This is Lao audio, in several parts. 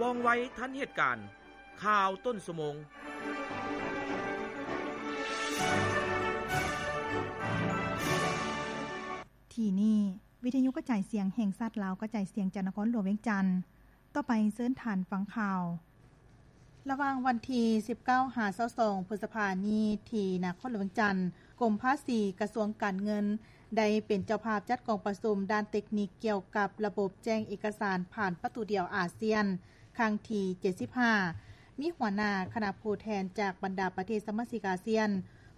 ວ່ອງໄວທັນເຫດການ. ຂ່າວຕົ້ນຊົ່ວໂມງ. ທີ່ນີ້ ວິທະຍຸກະຈາຍສຽງແຫ່ງຊາດລາວ ກະຈາຍສຽງຈາກນະຄອນຫຼວງວຽງຈັນ. ຕໍ່ໄປເຊີນທ່ານຟັງຂ່າວ. ລະຫວ່າງວັນທີສິບເກົ້າຫາຊາວສອງ ພຶດສະພານີ້ ທີ່ນະຄອນຫຼວງວຽງຈັນ, ກົມພາສີ ກະຊວງການເງິນ ໄດ້ເປັນເຈົ້າພາບຈັດກອງປະຊຸມດ້ານເຕັກນິກກ່ຽວກັບລະບົບແຈ້ງເອກະສານຜ່ານປະຕູດຽວອາຊຽນ ຄັ້ງທີເຈັດສິບຫ້າ ມີຫົວໜ້າຄະນະຜູ້ແທນຈາກບັນດາປະເທດສະມາຊິກອາຊຽນ,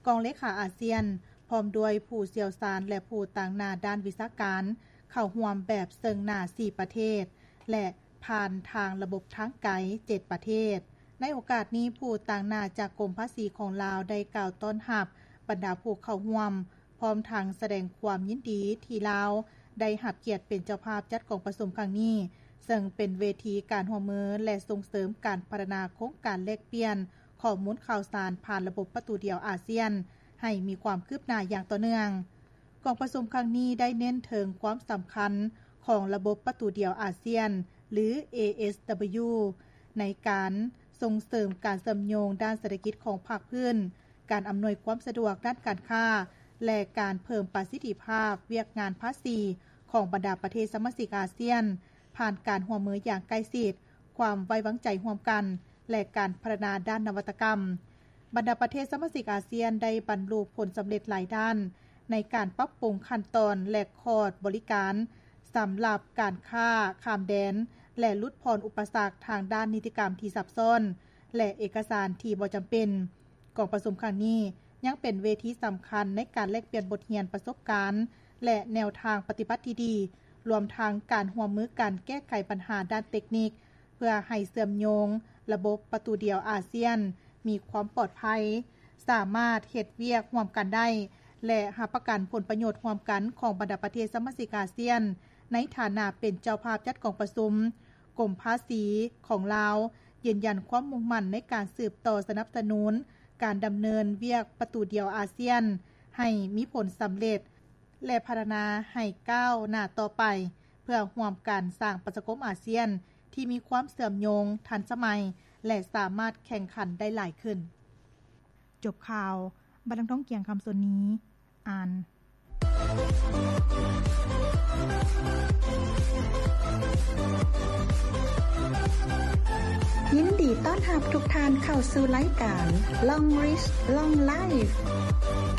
ກອງເລຂາອາຊຽນ, ພ້ອມດ້ວຍຜູ້ຊ່ຽວຊານ ແລະ ຜູ້ຕາງໜ້າດ້ານວິຊາການ ເຂົ້າຮ່ວມແບບເຊິ່ງໜ້າສີ່ປະເທດ ແລະ ຜ່ານທາງລະບົບທາງໄກເຈັດປະເທດ. ໃນໂອກາດນີ້, ຜູ້ຕາງໜ້າຈາກກົມພາສີຂອງລາວໄດ້ກ່າວຕ້ອນຮັບບັນດາຜູ້ເຂົ້າຮ່ວມ, ພ້ອມທັງສະແດງຄວາມຍິນດີທີ່ລາວໄດ້ຮັບກຽດເປັນເຈົ້າພາບຈັດກອງປະຊຸມຄັ້ງນີ້, ເຊິ່ງເປັນເວທີການຮ່ວມມື ແລະ ສົ່ງເສີມການພັດທະນາໂຄງການແລກປ່ຽນຂໍ້ມູນຂ່າວສານຜ່ານລະບົບປະຕູດຽວອາຊຽນ ໃຫ້ມີຄວາມຄືບໜ້າຢ່າງຕໍ່ເນື່ອງ. ກອງປະຊຸມຄັ້ງນີ້ໄດ້ເນັ້ນເຖິງຄວາມສຳຄັນຂອງລະບົບປະຕູດຽວອາຊຽນ ຫຼື ເອເອສດັບເບິນຢູ ໃນການສົ່ງເສີມການເຊື່ອມໂຍງດ້ານເສດຖະກິດຂອງພາກພື້ນ, ການອຳນວຍຄວາມສະດວກດ້ານການຄ້າ ແລະ ການເພີ່ມປະສິດທິພາບວຽກງານພາສີຂອງບັນດາປະເທດສະມາຊິກອາຊຽນ ຜ່ານການຮ່ວມມືຢ່າງໃກ້ຊິດ, ຄວາມໄວ້ວາງໃຈຮ່ວມກັນ ແລະ ການພັດທະນາດ້ານນະວັດຕະກຳ. ບັນດາປະເທດສະມາຊິກອາຊຽນໄດ້ບັນລຸຜົນສຳເລັດຫຼາຍດ້ານ ໃນການປັບປຸງຂັ້ນຕອນ ແລະ ຄອດບໍລິການສຳລັບການຄ້າຂ້າມແດນ ແລະ ຫຼຸດຜ່ອນອຸປະສັກທາງດ້ານນິຕິກຳທີ່ຊັບຊ້ອນ ແລະ ເອກະສານທີ່ບໍ່ຈຳເປັນ. ກອງປະຊຸມຄັ້ງນີ້ຍັງເປັນເວທີສຳຄັນໃນການແລກປ່ຽນບົດຮຽນປະສົບການ ແລະ ແນວທາງປະຕິບັດທີ່ດີ, ລວມທັງການຮ່ວມມືກັນແກ້ໄຂບັນຫາດ້ານເຕັກນິກ ເພື່ອໃຫ້ເຊື່ອມໂຍງລະບົບປະຕູດຽວອາຊຽນມີຄວາມປອດໄພ, ສາມາດເຮັດວຽກຮ່ວມກັນໄດ້ ແລະ ຮັບປະກັນຜົນປະໂຫຍດຮ່ວມກັນຂອງບັນດາປະເທດສະມາຊິກອາຊຽນ ໃນຖານະເປັນເຈົ້າພາບຈັດກອງປະຊຸມ. ກົມພາສີຂອງລາວຢືນຢັນຄວາມມຸ່ງໝັ້ນໃນການສືບຕໍ່ສະໜັບສະໜູນການດຳເນີນວຽກປະຕູດຽວອາຊຽນໃຫ້ມີຜົນສຳເລັດ ແລະ ພັດທະນາໃຫ້ກ້າວໜ້າຕໍ່ໄປ ເພື່ອຮ່ວມກັນສ້າງປະຊາຄົມອາຊຽນທີ່ມີຄວາມເຊື່ອມໂຍງ, ທັນສະໄໝ ແລະ ສາມາດແຂ່ງຂັນໄດ້ຫຼາຍຂຶ້ນ. ຈົບຂ່າວ, ບັດລັງທອງ ກຽງຄຳ ສ່ວນນີ້ ອ່ານ. ຍິນດີຕ້ອນຮັບທຸກທ່ານເຂົ້າສູ່ລາຍການ Long Reach Long Life.